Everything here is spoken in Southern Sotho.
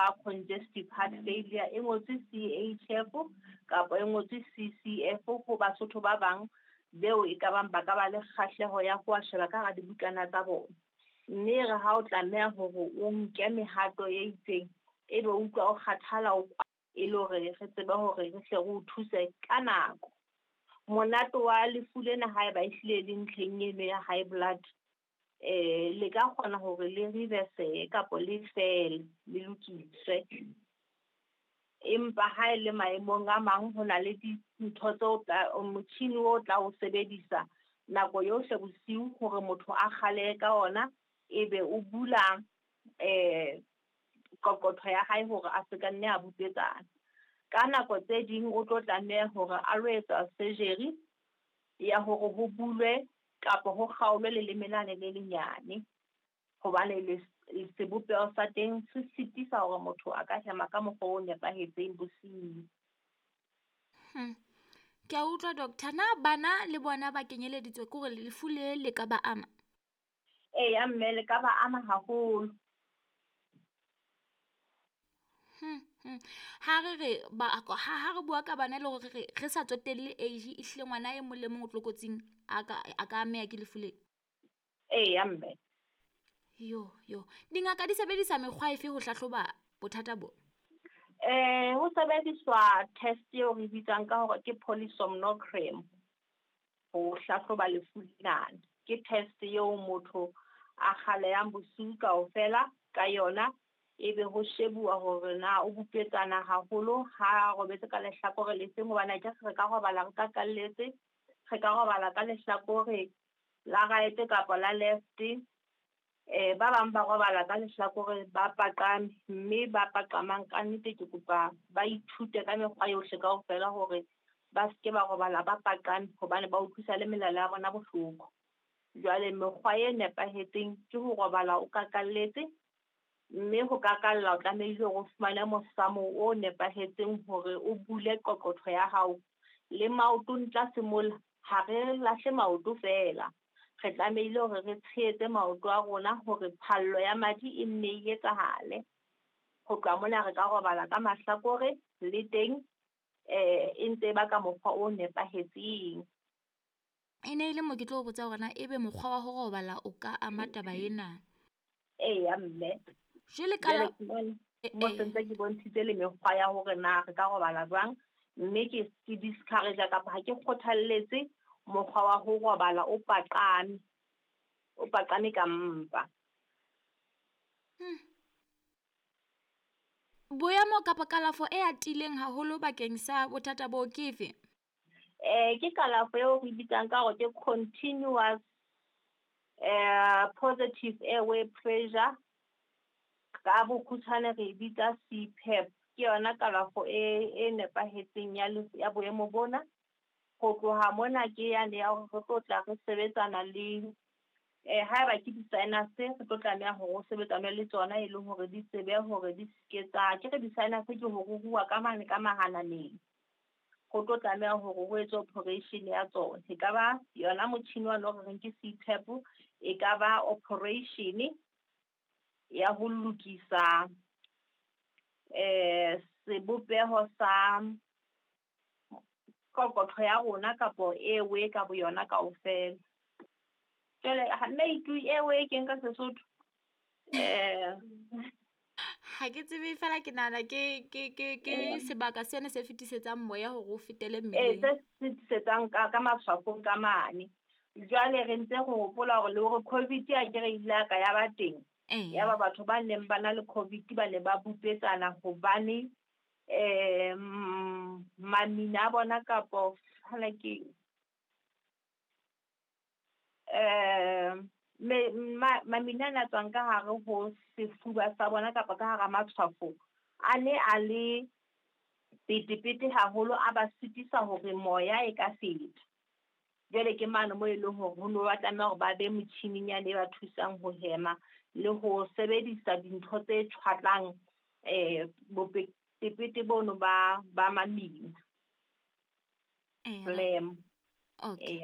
ba congestive heart failure, e ngotswe CHF kapa e ngotswe CCF ho Basotho ba bang beo e ka bang ba ka ba le kgahleho ya ho sheba ka hara dibukana tsa bona. Mme re ha o tlameha hore o nke mehato e itseng, ebe o utlwa o kgathala o e le hore re tsebe hore re hle re o thuse ka nako. Monate wa lefu lena haeba ehlile le ntlheng eno ya high blood, le ka kgona hore le reverse kapa le fele, le lokiswe. Empa ha e le maemong a mang ho na le dintho tseo motjhini o tla o sebedisa nako yohle bosiu hore motho a kgale ka ona, ebe o bula qoqotho ya hae hore a se ka nne a bupetsana. Ka nako tse ding o tlo tlameha hore a lo etsa surgery ya hore ho bulwe kapa ho kgaolwe leleme lane le lenyane, hobane le sebopeho sa teng se sitisa hore motho a ka hema ka mokgwa o nepahetseng bosiu. Ke a utlwa doctor, na bana le bona ba kenyeleditswe ke hore lefu le le ka ba ama? Eya mme, le ka ba ama haholo. Ha re re ba ha re bua ka bana le hore re sa tsotelle age, ehlile ngwana e mong le mong o tlokotsing a ka ameha ke lefu le. Eya mme. Yo yo, dingaka di sebedisa mekgwa efe ho hlahloba bothata bo? Ho sebediswa test eo re bitsang ka hore ke polysomnogram ho hlahloba lefu lena. Ke test eo motho a kgalehang bosiu kaofela ka yona, ebe ho shebuwa hore na o bupetsana haholo ha robetse ka lehlakore le seng, hobane akere re ka robala re kakalletse, re ka robala ka lehlakore la right kapa la left. Ba bang ba robala ka lehlakore ba paqame, mme ba paqamang ka nnete ke kopa ba ithute ka mekgwa yohle kaofela hore ba seke ba robala ba paqame, hobane ba utlwisa le melala ya bona bohloko. Jwale mekgwa e nepahetseng ke ho robala o kakalletse, mme ho kakalla o tlamehile hore o fumane mosamo o nepahetseng hore o bule qoqotho ya hao. Le maoto tlase mola, ha re lahle maoto feela, re tlamehile hore re tshehetse maoto a rona hore phallo ya madi e nne e etsahale. Ho tloha mona re ka robala ka mahlakore le teng, e ntse e ba ka mokgwa o nepahetseng. E ne e le mo ke tlo botsa hore na ebe mokgwa wa ho robala o ka ama taba ena? Eya mme. Jwale ka la Mo sentse ke bontshitse le mekgwa ya hore na re ka robala jwang, mme ke discourage kapa ha ke kgothalletse mokgwa wa ho robala o paqame, o paqame ka mpa. Boemo kapa kalafo e atileng haholo bakeng sa bothata bo ke efe? Ke kalafo eo re bitsang ka hore ke continuous positive airway pressure, ka bokgutshwane re bitsa CPAP. Ke yona kalafo e nepahetseng ya boemo bona. Ho tloha mona ke yane ya hore re tlo tla re sebetsana le haeba ke di-sinus, re tlo tlameha hore o sebetsane le tsona e le hore di tsebe hore di seke tsa, ke re di-sinus ke ho ruruha ka mane ka mahananeng. Ho tlo tlameha hore ho etswe operation ya tsona. E ka ba yona motjhini wa no re reng ke CPAP, e ka ba operation ya ho lokisa sebopeho sa qoqotho ya rona kapo airway ka boyona kaofela. Jwale nna itu airway ke nka Sesotho. Ha ke tsebe fela ke nahana ke sebaka sena se fetisetsang moya hore o fetele mmeleng. Se fetisetsang ka matshwafong ka mane. Jwale re ntse re hopola hore le hore COVID a ke re ile ka ya ba teng. Ya ba batho ba neng ba na le COVID ba ne ba bupetsana hobane mamina a bona kapo hana ke mamina a tswang ka hare ho sefuba sa bona kapa ka hara matshwafo a ne a le petepete haholo, a ba sitisa hore moya e ka feta. Jwale ke mane moo e leng hore ho no ba tlameha hore ba be motjhining yane e ba thusang ho hema le ho sebedisa dintho tse tjhwatlang bopetepete bono ba mamina. Phlegm. Okay.